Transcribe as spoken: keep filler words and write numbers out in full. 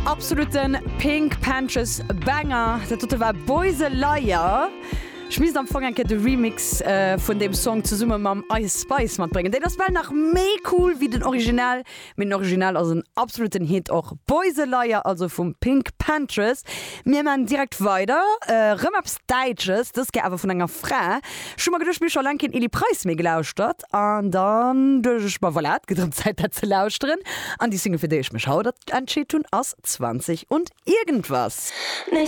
Absoluten PinkPantheress Banger. Dat dote war Boy's a Liar. Ech misst am Fong eng Kéier de Remix äh, vun deem Song zesumme mam Ice Spice matbréngen. Deen ass well nach méi cool wéi den Original. Mee den Original ass en absoluten Hit och. Boy's a Liar, also vum PinkPantheress. Mir maachen direkt weider. Äh, rëm eppes Däitsches, dës Kéier awer vun enger Fra. Ech hu mer geduecht, mir hu scho laang keen Elli Preis méi gelauschtert. An dann duecht ech mer, voilà, et gëtt erëm Zäit dat ze lauschteren. An déi Single fir déi ech mech haut entscheet hunn ass zwanzig und irgendwas. Nichts